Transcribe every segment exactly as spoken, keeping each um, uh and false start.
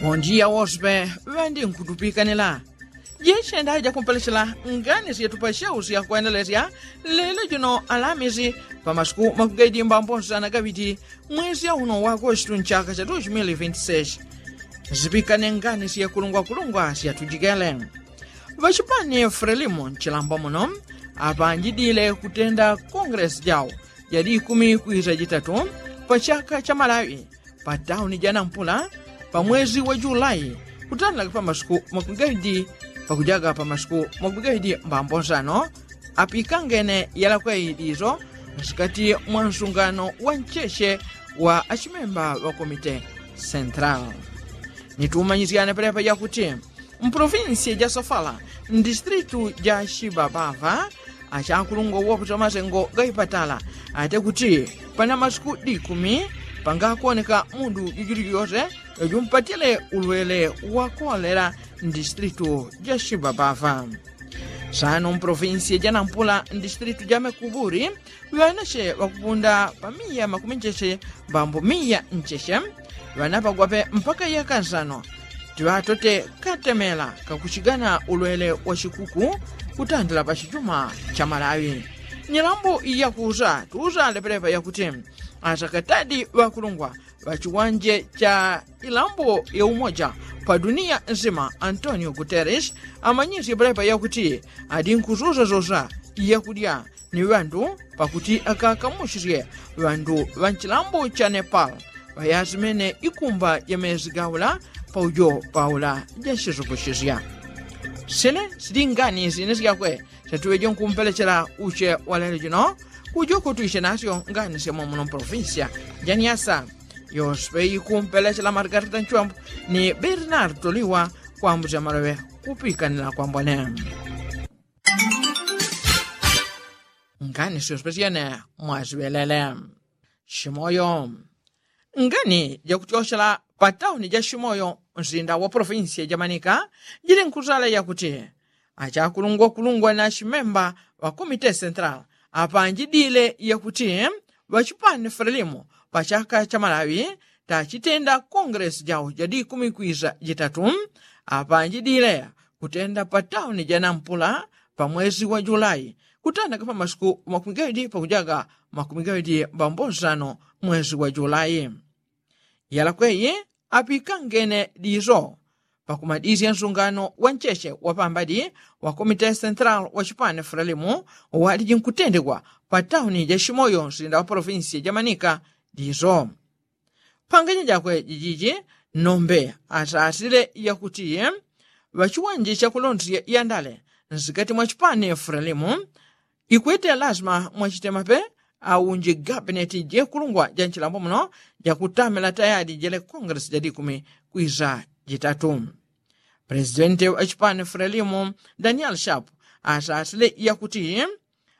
Mondiya woswe ŵandinkhutupikanila. Jechenda jakumpelechela ngani syetu pacheusi yakwendelesya lelo jino alamisi pa masuku makugaidi mbambonsana gaŵiti mwezi yauno wa agostu nchaka cha dos mil vinti seis. Zipikane ngani syekulungwakulungwa syatujikele. Ŵachipani frelimo nchilambo muno apanjidile kutenda kongelesi jau jadi ikumi kwisa jitatu pa chaka cha malawi pa tauni ja nampula pa mwezi wa julai kutandalaga pa masuku makumi gaidi pakujaga pa masuku makumi gaidi mbambo nsano. Apikangene yalakweyi diso nsikati mwa nsungano wa ncheche wa achimemba ŵa komite sentral. Nitumanyisyane palepa yakuti mprovinsi ja sofala mdistritu ja shibabava achakulungwa wokuta masengo gaipatala ate kuti pana masiku dikumi pangakuoneka mundu jujuli jose jumpatile ulwele wa kolela mdistritu ja shibabava. Sano mprovinsi ja nampula mdistritu ja mekuburi ŵanache ŵakupunda pa miya makumi ncheche mbambo miya ncheche ŵanapagwape mpaka yaka nsano. Tiŵatote katemela kakuchigana ulwele wa chikuku kutandila pa chijuma cha malawi. Nyilambo yakusa tusa lepelepa yakuti asakatadi ŵakulungwa ŵachiwanje cha ilambo ya umoja pa duniya nsima antonio guterres amanyisye palepa yakuti adinkususasosa yakudya ni ŵandu pakuti akakamuchisye ŵandu ŵa nchilambo cha nepal ŵayasimene ikumba ja mezi gaula paujo paula ja chisukusisya. Sine sili ngani sine syakwe syatuŵeje nkumpelechela uche walelo jino kujo kutwisye nasyo ngani sya mwamuno mprovinsiya ja niasa. Yospe ikumpelechela margarita nchwambu ni bernardo liwa kwambusya maloŵe kupikanila kwambone. Ngani syospesyene mwasiŵelele. Shimoyo. Ngani jakuchochela pa tauni ja shimoyo msinda wa provinsiya ja manika jili nkusala yakuti achakulungwakulungwa na shimemba ŵa komite sentral apanjidile yakuti ŵachipani frelimo pa chaka cha malawi tachitenda kongelesi jau ja dikumi kwisa jitatu. Apanjidile kutenda pa tauni ja nampula pa mwezi wa julai kutandaka pa masiku makumi gaŵidi pakujaga makumi gaŵidi mbambo nsano mwezi wa julai. Yalakweyi apikangene diso pakumadisya nsungano wa ncheche wa pambadi wa komite sentral wa chipani frelimo waliji nkutendekwa pa tauni ja shimoyo msinda wa provinsiya ja manika diso. Panganya jakwe jijiji nombe asasile yakuti ŵachiwanje chakulondesya yandale nsikati mwa chipani frelimo ikwete lazima mwachitemape aunji gabineti jekulungwa ja nchilambo muno jakutamila tayadi jele kongelesi ja dikumi kwisa jitatu. Presidenti wa chipani frelimo daniel sharp asasile yakuti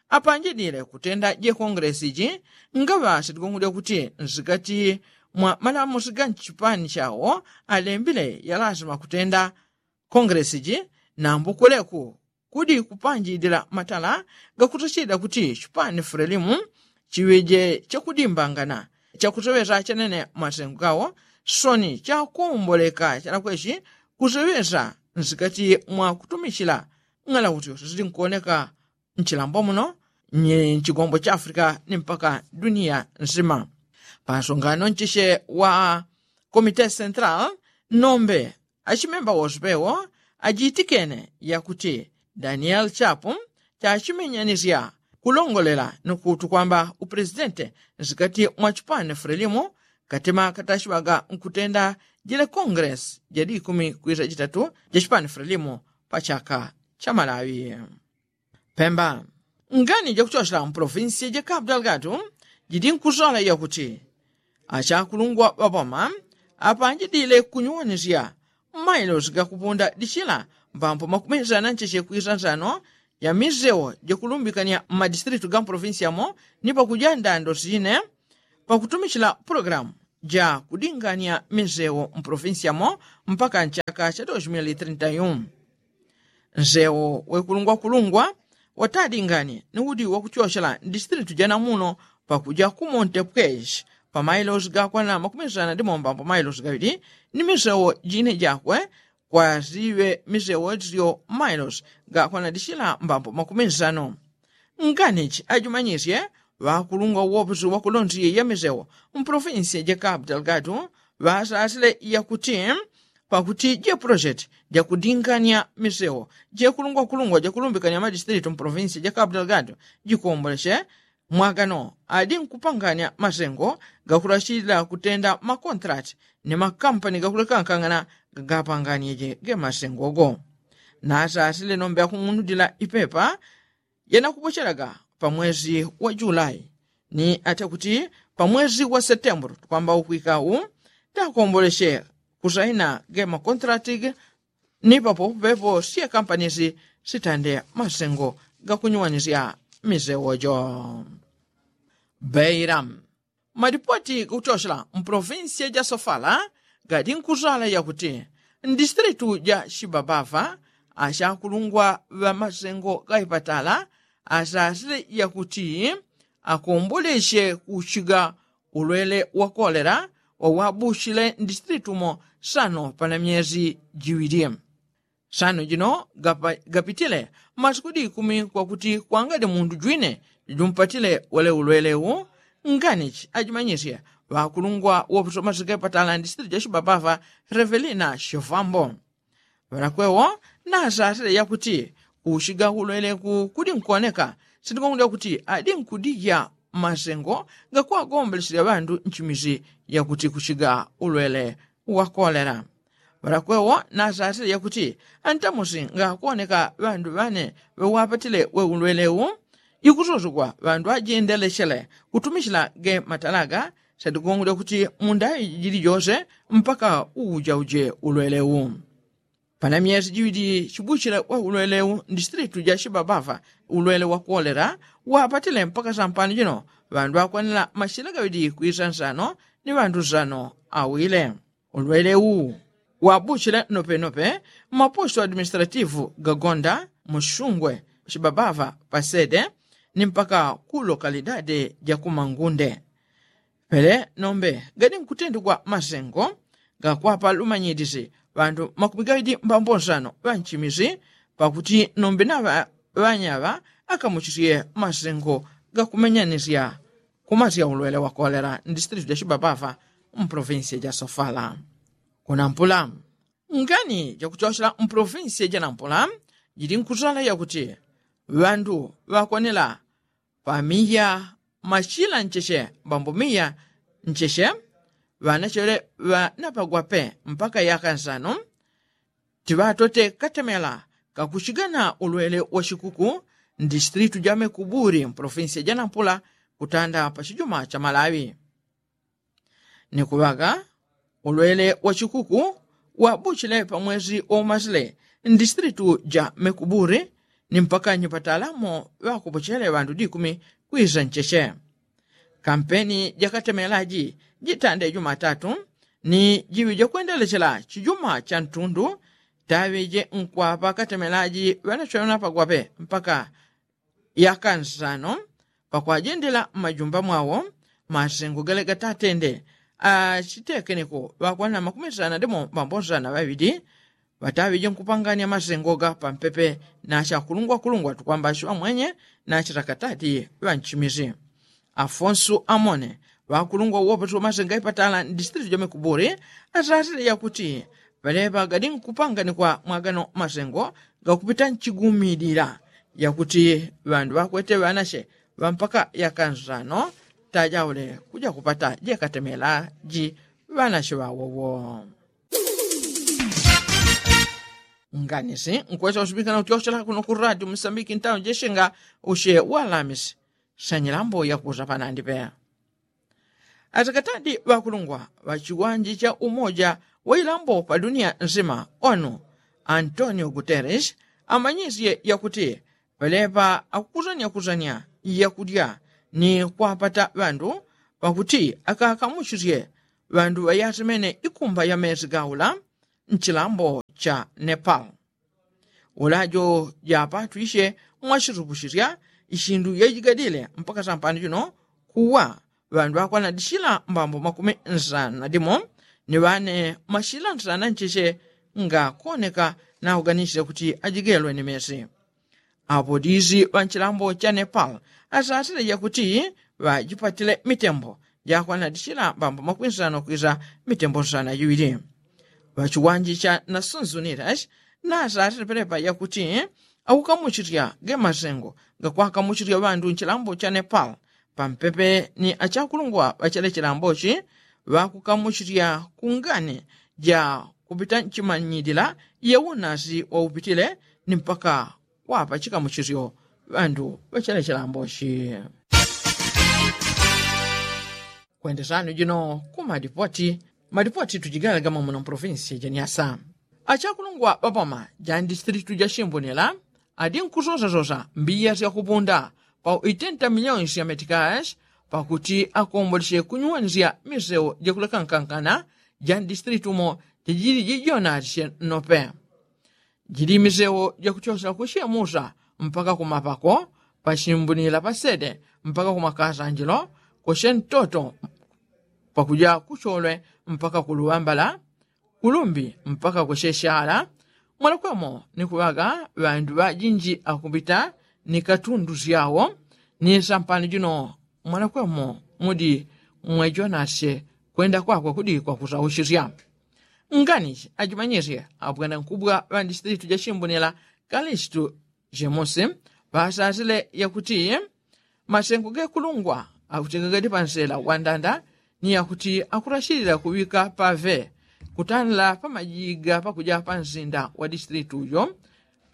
apanjidile kutenda je kongelesi ji ngaŵa sitigongolya kuti nsikati mwa malamusi ga nchipani chawo alembile ya lazima kutenda kongelesi ji. Nambukuleku kudi kupanjidila matala gakutachidila kuti chipani frelimu chiŵeje chakudimbangana chakuseŵesa chanene masengo gawo soni chakomboleka chalakwechi kuseŵesa nsikati mwa kutumichila ng'ala kuti yose sili nkuoneka nchilambo muno nchigombo cha afrika ni mpaka duniya nsima. Pansungano ncheche wa komite sentral nombe achimemba wose pewo ajitikene yakuti daniel chapu chachimenyanisya kulongolela ni kutu kwamba upresidente nsikati mwa chipani frelimu katima katachiŵaga nkutenda jile kongelesi ja dikumi kwisa jitatu ja chipani frelimu pa chaka cha malawi. Pemba. Ngani jakuchochela mpolofinsi ja kapu dalgatu jidi nkusola yakuti achakulungwa ŵaboma apanjidile kunyuwanisya mmailosi gakupunda dichila mbambo makumizana ncheche kwisa nsano ya misewo jakulumbikanya mmadistritu ga mpolofinsi yamo ni pakuja ndando sine pakutumichila pulogalamu ja kudingania misewo mpolofinsi yamo mpaka nchaka cha dos mil trinta yu. Nsewo wekulungwakulungwa watadingani ni udi wakuchochela mdistritu janamuno pakuja ku monte pweshi pamailosi gakwana makumi nsana ndi mombambo mailosi gaŵili ni misewo jine jakwe, kwasiŵe misewo syo mailosi gakwana ndi sila mbambo makumi nsano. Nganichi ajumanyisye ŵakulungwa woposi wakulonsiye ya misewo mpolofinsiya ja kapu delgado ŵasasile yakuti pakuti jepolosheti jakudingania misewo jekulungwakulungwa jakulumbikania madisitilitu mpolofinsiya ja kapu delgado jikomboleshe mwagano adi nkupangania masengo gakulashilila kutenda makontrati ni makampani gakulekangana gagapanganie je ge masengo go. Nasasile nombe akung'unudila ipepa yanakupochelaga pamwezi wa julai ni ate kuti pamwezi wa setembulu tukwamba ukwika u takomboleshe kusaina ge makontrati ge ni papopo pepo sye kampanisi sitande masengo gakunyuwanisya misewo jo. Beira madipoti gakuchochela mpolofinsiya ja sofala gadi nkusala yakuti ndisitilitu ja shibabava ashakulungwa ŵa masengo gaipatala asasile yakuti akomboleshe kuchiga ulwele wa kolera wawabushile ndisitilitu mo sano pana myezi jiŵili. Sano jino gapitile masiku di ikumi kwakuti kwangadi mundu jwine jumpatile wele ulwele u. Nganichi ajimanyisye ŵakulungwa woposi wa masengo gaipatala ndisitilitu ja shibabava revelina shivambo ŵalakwewo nasasile yakuti kuchiga ulwele ku kudi nkuoneka sindikongolya kuti adi nkudija masengo gakuwagombeleselya ŵandu nchimisi yakuti kuchiga ulwele wa kolera. Ŵalakwewo nasasile yakuti antamusi ngakuoneka ŵandu ŵane ŵewapatile we ulwele u ikusosogwa ŵandu ajendelechele kutumichila ge matalaga sindikongolya kuti mundaŵi jili jose mpaka uwujauje ulwele u. Pana myesi jiŵili chibuchile we ulwele u ndisitilitu ja shibabava ulwele wa kolera wapatile mpaka sampano jino ŵandu akwanila machila gaŵili kwisa nsano ni ŵandu nsano awile. Ulwele u wabuchile nopenope mmaposto administrativu gagonda musungwe shibabava pasede ni mpaka ku lokalidade ja kumangunde. Pele nombe gadi nkutendegwa masengo gakwapa lumanyilisi ŵandu makumi gaŵidi mbambo nsano ŵanchimisi pakuti nombe na ŵanyaŵa akamuchisye masengo gakumenyanisya kumasya ulwele wa kolera ndisitilitu ja shibabava mpolofinsiya ja sofala. Kunampula ngani jakuchochela mpolofinsiya ja nampula jili nkusala yakuti ŵandu ŵakwanila pa miya machila ncheche mbambo miya ncheche ŵanachele ŵanapagwa pe mpaka yaka nsano. Tiŵatote katemela kakuchigana ulwele wa chikuku ndisitilitu ja mekuburi mpolofinsiya ja nampula kutanda pa chijuma cha malawi. Ni kuŵaga ulwele wa chikuku wabuchile pamwezi waumasile ndisitilitu ja mekuburi ni mpaka nyipatala mo ŵakupochele ŵandu dikumi kwisa ncheche. Kampeni jakatemelaji jitande jumatatu ni jiŵi jakwendelechela chijuma cha ntundu taŵije nkwapa katemelaji ŵanachona pagwape mpaka yaka nsano pakwajendela mmajumba mwawo. Masengo gale gatatende achitekeneko ŵakwana makumi nsana ndimo mbambo nsana ŵaŵili ŵataŵije nkupangania masengo ga pampepe na achakulungwakulungwa tukwamba achiŵamwenye na achitakatati ŵanchimisi. Afonsu amone ŵakulungwa uwoposi wa masengo aipatala ndisitilitu ja mekuburi asasile yakuti ŵaleŵa gadi nkupanganikwa mwagano masengo gakupita nchigumilila yakuti ŵandu ŵakwete ŵanache ŵampaka yaka nsano tajaule kuja kupata jekatemela ji ŵanache ŵawowo. Nganisi nkwesa usumikana utyochela kuno ku radio musambiki ntawo jeshenga ushe walamisi. Sanyilambo yakuza panandi peya atakatadi ŵakulungwa ŵachiwanji cha umoja wa ilambo pa dunia nsima onu antonio guterres amanyisye yakuti ŵaleŵa akukusanya kusanya yakudya ni kwapata ŵandu pakuti akakamuchisye ŵandu ŵayasemene ikumba ya mesi gaula nchilambo cha nepal. Ulajo japatwishe mwachisupuchisya ichindu yajigadile mpaka sampano chino kuwa ŵandu ŵakwanadishila mbambo makumi nsanu na dimo ni ŵane mashila nsanu na ncheche ngakoneka nauganishile kuti ajigelwe ni mesi. Apo dizi ŵanchilambo cha nepal asasile jakuti ŵajipatile mitembo jakwanadishila mbambo makumi nsanu kwiza mitembo nsanu na jiŵili. Ŵachiwanje cha nasunzunilashi nasasile pelepa jakuti akukamuchilya gemasengo gakwakamuchilya ŵandu nchilambo cha nepal pampepe ni achakulungwa ŵachele chilambochi ŵakukamuchilya kungani ja kupita nchimanyilila yeunasi waupitile ni mpaka kwapa chikamuchisyo ŵandu ŵachele chilambochi. Kwendesano jino ku madipoti madipoti tujigalega mwamuno mprovinsi janiasa. Achakulungwa ŵapoma ja ndisitilitu ja shimbunila adi nkusosasosa mbiya syakupunda pa itenta milionsi ya metikashi pakuti akombolesye kunyuwanisya miseu jakulekankankana ja ndisitilitu mo jajili jijonatisye nnope. Jili miseu jakutyosela kusyemusa mpaka kumapako, pashimbunila pasede mpaka kumakasanjilo, kusyentoto pakuja kusolwe mpaka kuluŵambala, kulumbi mpaka kusyeshala. Mwalakwemo ni kuŵaga ŵandu ŵajinji akupita ni katundu syawo ni sampani jino mwalakwemo mudi mwejonasye kwenda kwakwe kudi kwakusausisya. Ngani ajimanyisye abwanankubwa ŵandisitilitu jashimbunila kalistu jemusi ŵasasile yakuti masengo gekulungwa akuti gagadi pansela wandanda ni yakuti akurashilila kuŵika pave kutanila pamajiga pakuja pansinda wa disitilitu ujo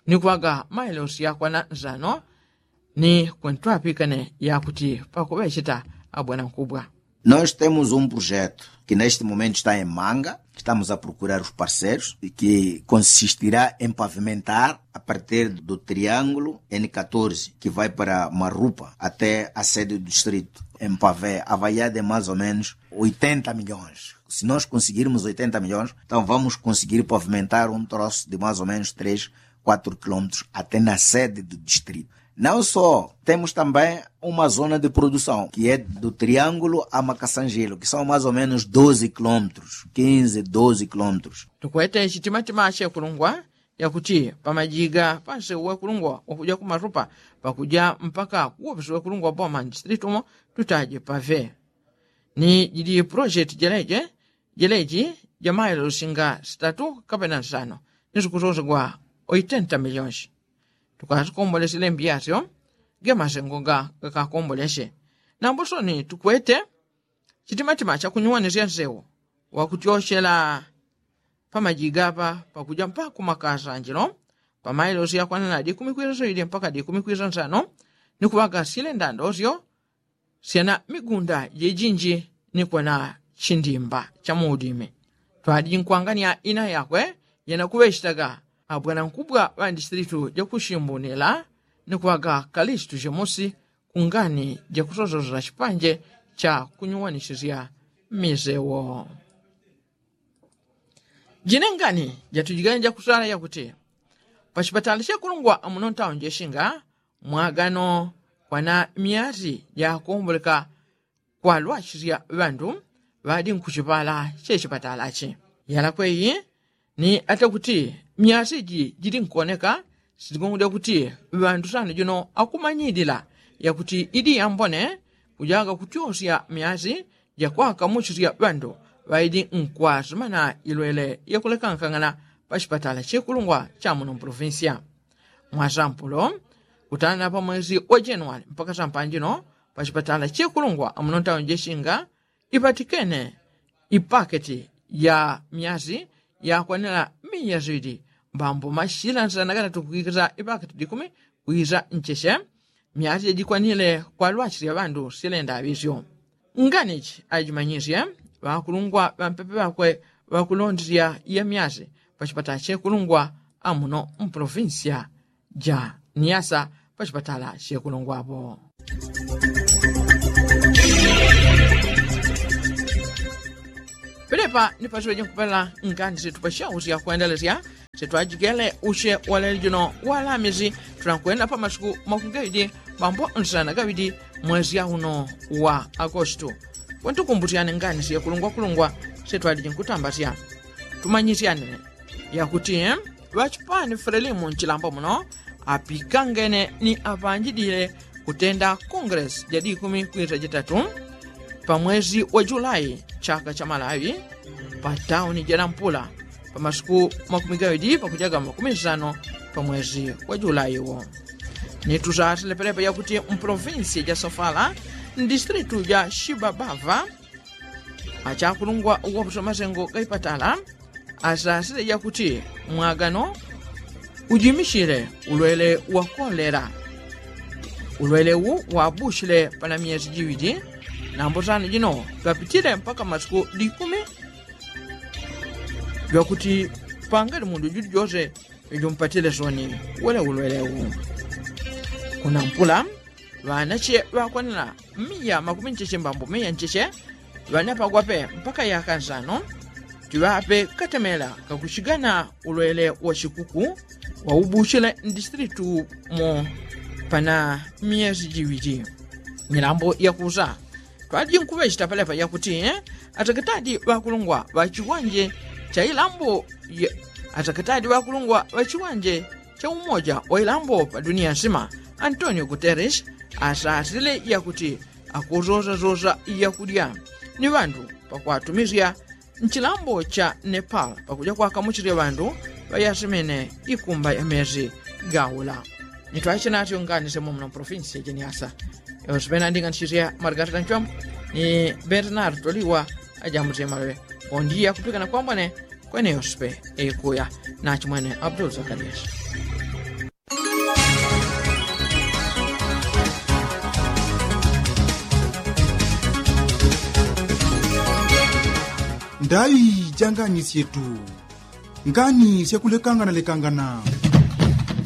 ni kuŵaga mailosi yakwana nsano ni kwentwapikane yakuti pakuŵecheta abwanankubwa. Nós temos um projeto que neste momento está em manga, estamos a procurar os parceiros e que consistirá em pavimentar a partir do triângulo n catorze que vai para marupa até a sede do distrito em pavé avaliada em mais ou menos oitenta milhões. Se nós conseguirmos oitenta milhões, então vamos conseguir pavimentar um troço de mais ou menos três, quatro quilômetros até na sede do distrito. Não só, temos também uma zona de produção que é do triângulo a macassangelo, que são mais ou menos doze quilômetros, quinze, doze quilômetros. Tukwete chitimatima chekulungwa yakuti pamajiga panse wekulungwa wakuja kumarupa pakuja mpaka kuwopisi wekulungwa boma ndistritumo tutaje pave ni jili projeti jeleje jeleji jamailosi nga sitatu kapena nsano ni sukusosegwa oitenta milionsi. Tukasikombolesile mbiyasyo gemasengo gakakombolesye. Nambosoni tukwete chitimatima chakunyuwanisya nsewu wakutyosyela pamajiga apa pakuja mpaka kumakasanjilo pamailosi yakwanana dikumi kwiza soili mpaka dikumi kwiza nsano ni kuŵaga sile ndandosyo syana migunda jejinji ni kwena chindimba cha muudimi. Twadijinkwangania ina yakwe yanakuŵechitaga abwanankubwa ŵandisitilitu jakushimbunila ni kuŵaga kalistu jemusi kungani jakusososa chipanje cha kunyuwanisisya misewo. Jine ngani jatujigane jakusala yakuti pachipatala chekulungwa amuno ntauni jeshinga mwagano kwana myasi jakomboleka kwalwachisya ŵandu ŵadi nkuchipala chechipatalachi. Yalakwe iyi ni atakuti myasi iji jili nkuoneka sitigongode kuti ŵandu sano jino akumanyilila yakuti idi yambone kujaga kutyosya myasi jakwakamuchisya ŵandu ŵaidi nkwasimana ilwele yakulekankangana pachipatala chekulungwa chamuno mpolovinsya. Mwasampulo kutana pamwezi wa januwali mpaka sampanjino pachipatala chekulungwa amuno ntauni jeshinga ipatikene ipaketi ya myasi yakwanila miya ziŵili mbambo mashila nsana gatatu kukikiza ipaketi dikumi kwiza ncheche. Myasi jajikwanile kwalwachilya ŵandu silenda aŵisyo. Nganichi ajimanyisye ŵakulungwa ŵampepe ŵakwe ŵakulondilya ya myasi pachipatala chekulungwa amuno mpolovinsya ja niyasa pachipatala chekulungwapo. Pelepa ni pasiŵeje nkupela ngani situ pasyausya kwendelesya sitwajigele usye waleli juno walamisi tulankwenda pamasiku makungeŵidi mambo nsana gaŵidi. mwezi auno wa agostu. Kwentukumbusyane ngani syekulungwakulungwa setwaliji nkutambasya. Tumanyisyane yakuti ŵachipani frelimu nchilambo muno apikangene ni apanjidile kutenda kongresi jadi ikumi kwisa jitatu pa mwezi wa julai chaka cha malawi pa tauni janampula pa masiku makumi gawidi pakujaga makumi sano pa mwezi wa julai wo. Ni tusasile pelepa yakuti mprovinsi ja sofala mdistritu ja shibabava achakulungwa uwapusa masengo gaipatala asasile yakuti mwagano ujimishile ulwele wa kolela. Ulwele wu wabushile pana myesi jiwili nambo sano jino gapitile mpaka masiku dikumi. Lwakuti pangali mundu juli jose ijumpatile soni wele ulwele wu. Kunampula ŵanache ŵakwanila miya makumi ncheche mbambo miya ncheche ŵanapagwape mpaka yaka nsano. Tiŵape katemela kakuchigana ulwele wa chikuku waubuchile mdistritu mo pana myesi jiwili. Milambo yakusa twaliji nkuŵechita palepa yakuti atakatadi ŵakulungwa ŵachiwanje cha ilambo atakatadi ŵakulungwa ŵachiwanje cha umoja wa ilambo pa duniya nsima antonio guteres asasile yakuti akusosasosa yakudya ni ŵandu pakwatumisya nchilambo cha nepal pakuja kwakamuchisya ŵandu ŵayasemene ikumba ya mesi gaula. Nitwache natyo ngani semo muna provinsi ya jeniasa. Yosipena ndinga nchisya margarita nchwambo ni bernard toliwa ajambusiye maloŵe. Ondiya kupikana kwambwane kwene yosipe ikuya nachimwene abdul zakarias. Ndai janganisye tu ngani syakulekangana lekangana.